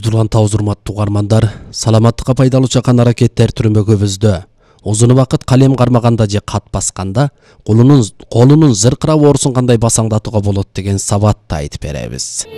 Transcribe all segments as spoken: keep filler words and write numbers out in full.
Көздөрлгөн табыз урматтуу угармандар, саламаттыкка пайдалуу чакан аракеттер түрмөгүбүздө узун убакыт калем кармаганда же кат басканда колунун колунун зыркырап оорусун кандай басаңдатууга болот деген сабатты айтып беребиз.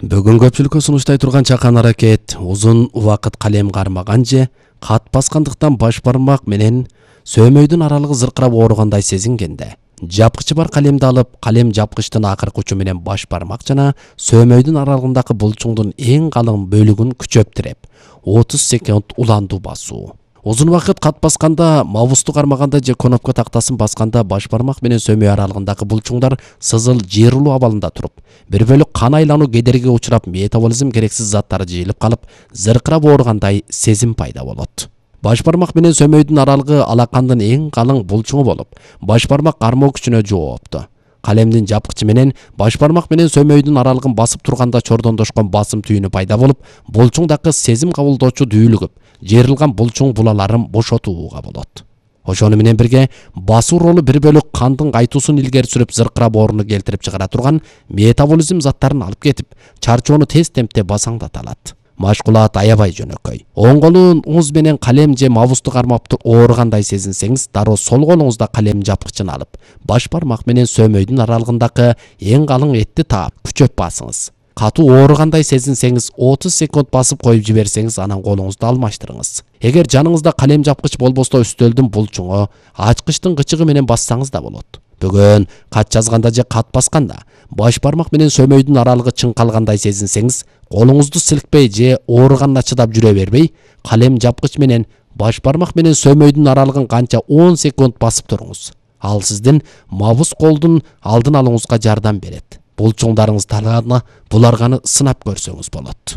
Бүгүн көпчүлүккө сунуштай турган чакан аракет узун убакыт калем кармаган же кат баскандыктан баш бармак менен сөөмөйдүн аралыгы зыркырап ооругандай сезингенде жапкычы бар калемди алып, калем жапкычтын акыркы учу менен баш бармак жана сөөмөйдүн аралыгындагы булчуңдун эң калың бөлүгүн күчөп тиреп отуз секунд уландуу басуу. Узун убакыт кат басканда, мабусту кармаганда же конопка тактасын басканда баш бармак менен сөөмөй аралыгындагы булчуңдар сызыл жыйрылуу абалында туруп, бир бөлүк кан айлануу кедергиге учурап, метаболизм керексиз заттары жыйылып калып, зыркырап ооругандай сезим пайда болот. Баш бармак менен сөөмөйдүн аралыгы алакандын эң калың булчуңу болуп, баш бармак кармоо күчүнө жоопту. Калемдин жапкычы менен баш бармак менен сөөмөйдүн аралыгын басып турганда чордондошкон басым түйүнү пайда болуп, булчуңдагы сезим кабылдоочу дүүлүгүп, жыйрылган булчуң булаларын бошотууга болот. Ошону менен бирге басуу ролу бир бөлүк кандын кайтуусун илгери сүрүп, зыркырап ооруну келтирип чыгара турган метаболизм заттарын алып кетип, чарчоону тез темпте басаңдата алат. Машкулат аябай жөнөкөй. Оң колуңуз менен калем же мабусту кармап ооругандай сезинсеңиз, дароо сол колуңузда калем жапкычын алып, баш бармак менен сөөмөйдүн аралыгындагы эң калың этти таап, күчөп басыңыз. Катуу ооругандай сезинсеңиз, отуз секунд басып коюп жиберсеңиз, анан колуңузду алмаштырыңыз. Эгер жаныңызда калем жапкыч болбосо, үстөлдүн булчуңу, ачкычтын кычыгы менен бассаңыз да болот. Бүгүн кат жазганда же кат басканда баш бармак менен сөөмөйдүн аралыгы чыңкалгандай сезинсеңиз, колуңузду силкпей же ооруганына чыдап жүрө бербей, калем жапкыч менен баш бармак менен сөөмөйдүн аралыгын канча он секунд басып туруңуз. Ал сиздин мабус колдун алдын алууңузга жардам берет. Булчуңдарыңыз талааны буларганы сынап көрсөңүз болот.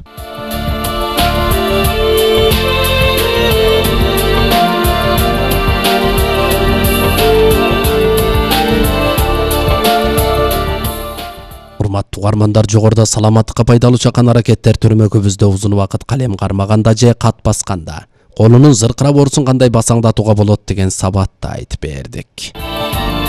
Урматтуу угармандар, жогоруда саламаттыкка пайдалуу чакан аракеттер түрмөгүбүздө узун убакыт калем кармаганда же кат басканда колунун зыркырап оорусун кандай басаңдатууга болот деген сабатты айтып бердик.